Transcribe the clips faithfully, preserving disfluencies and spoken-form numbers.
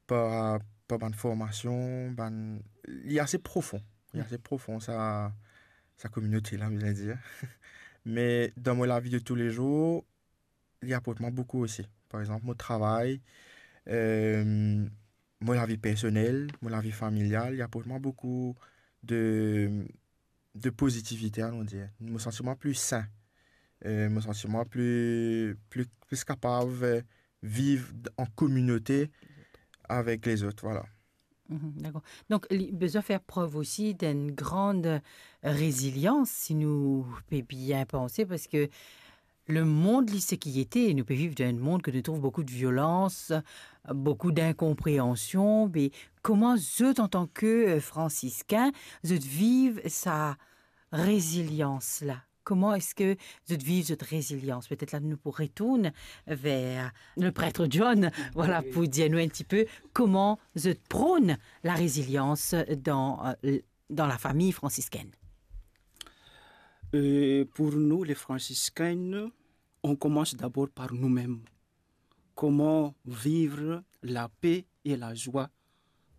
par, par bann formasion, bann, li ase profon. Li ase profon, sa, sa kominote la, mo dir. Me dan mo lavi de toulezour, li aport mwa boukou osi. Par exanp, mo travay, euh, mo lavi personel, mo lavi familial, li aport mwa boukou de, de pozitivite, allons dire. Mo santi mwa pli sin. Euh, mo santi mwa pli, pli, pli kapav, euh, viv an kominote avek lezot, vwala. Mhm, dakor. Donk, li bizin fer prev osi d'enn gran rezilians, si nou pe bien panse, parski lemond, li, seki ete, nou pe viv dan enn mond ke nou trouv boukou de violans, boukou dinkonpreansion, me kouma zot, antan ke, euh, fransiskin, zot viv sa rezilians la? Kouma eski zot viv zot rezilians? Petet la nou pou retourn ver le pret John, vwala, pou dir nou enn tipe kouma zot pran la rezilians dan, euh, dan lafami fransiskinn. Euh, pour nous, les franciscaines, on commence d'abord par nous-mêmes. Comment vivre la paix et la joie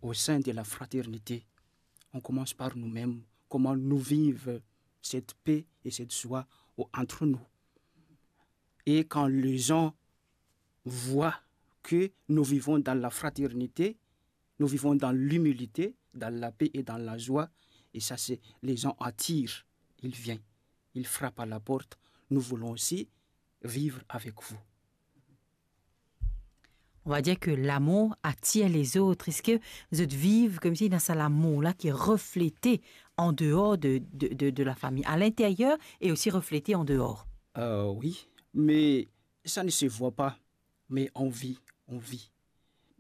au sein de la fraternité? On commence par nous-mêmes. Comment nous vivre cette paix et cette joie au-, entre nous? Et quand les gens voient que nous vivons dans la fraternité, nous vivons dans l'humilité, dans la paix et dans la joie, et ça, c'est, les gens attirent, ils viennent, ils frappent à la porte. Nous voulons aussi vivre avec vous. On va dire que l'amour attire les autres. Eski zot viv koumsi dan sa lamour la ki reflete an deor de, de, de, de lafami, à l'intérieur et aussi reflété en dehors? Euh, oui, mais ça ne se voit pas, mais on vit, on vit.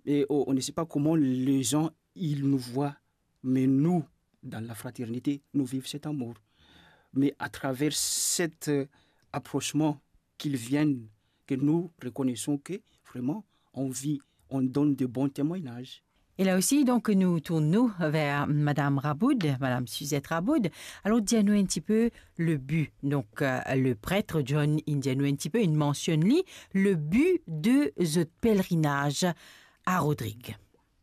Et on, on ne sait pas comment les gens, ils nous voient, mais nous, dans la fraternité, nous vivons cet amour. Mais à travers cet, euh, approchement qu'ils viennent, que nous reconnaissons que vraiment, on vit, on donne de bons témoignages. E la osi, donk, nou tourn nou ver Madam Raboud, Madam Suzette Raboud. Alor, dir nou enn tipe le bi. Donk, euh, le pret John, inn dir nou enn tipe, inn mansionn li, le bi de zot pelerinaz a Rodrig.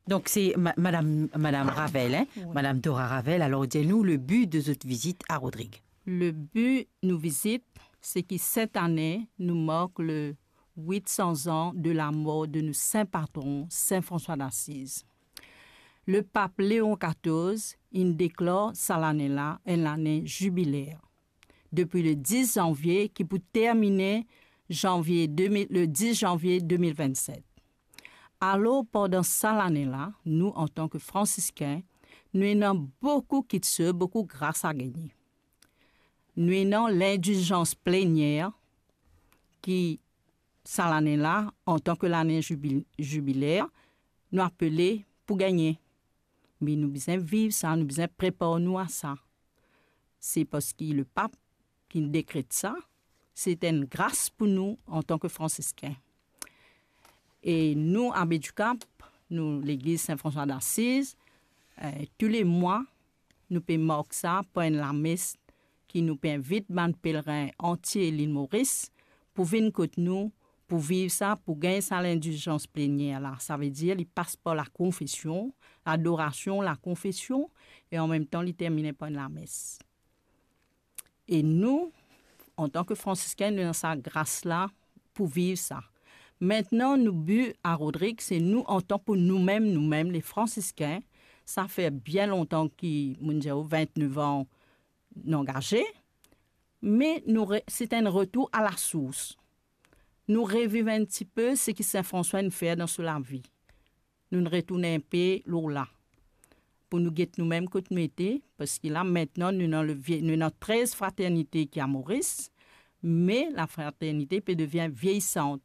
Donk, se ma-, madam, madam Ravel, hein? Wi. Madam Dora Ravel, alor dir nou le bi de zot vizit a Rodrig. Le bi nou vizit, se ki set ane, nou mark le wit san zan de lamor de nou sin patron, Sin Franswa d'Asiz. Le pap Leon katorz inn deklar sa lane la enn lane zibiler. Depi le dis zanvie, ki pou termine zanvie de mil, le dis zanvie de mil vennset. Alor, pandan sa lane la, nou, antan ke fransiskin, nou ena boukou kiksoz, boukou gras a gagne. Nou ena lindilzans plenier, ki sa lane la, antan ke lane zibil-, zibiler, nou apele pou gagne. Me nou bizin viv sa, nou bizin prepar nou a sa. Se parski le pap ki dekret sa, se enn gras pou nou antan ke fransiskin. E nou, Abbé du Cap, nou, legliz Sin Franswa d'Asiz, eh, tou le mwa, nou pe mark sa par enn lames ki nou pe invit bann pelerin antie Lil Moris pou vinn kot nou, pou viv sa, pou gagn sa lindilzans plenier la. Savedir, li pas par lakonfesion, ladorasion, lakonfesion, e anmemtan, li termine par enn lames. E nou, antan ke fransiskin, nou ena sa gras la pou viv sa. Aster, nou bi a Rodrig, se nou, antan pou noumem, noumem, le fransiskin, sa fer bien lontan ki, mo dir ou, vintnef an, nou angaze, me nou re-, se enn retour a lasours. Nou reviv enn tipe seki Sin Franswa inn fer dan so lavi. Nou retourn enpe lor la. Pou nou get noumem kot nou ete, parski la, aster, nou ena le vie-, nou ena trez fraternite ki a Moris, me lafraternite pe devien vieyisant.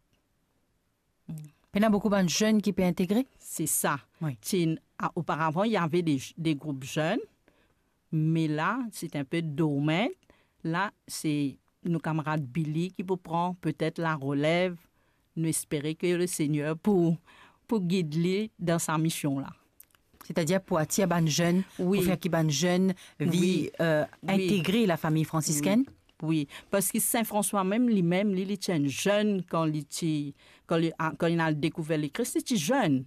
Pena boukou bann zenn ki pe integre? Se sa. Wi. Ti, a, oparavan, il y avait des, des groupes jeunes, me la, se enpe dormant. La, se nou kamarad Billy ki pou pran petet larelev. Nou espere ke Lesegner pou, pou gid li dan sa mision la. Setadir pou atir bann zenn, wi, pou fer ki bann zenn vi, wi, euh, wi, integre lafami fransiskin? Wi. Wi, parski Sin Franswa mem, limem, li, li ti enn zenn kan li ti, kan li, a, kan li al dekouver Lekris, li ti zenn.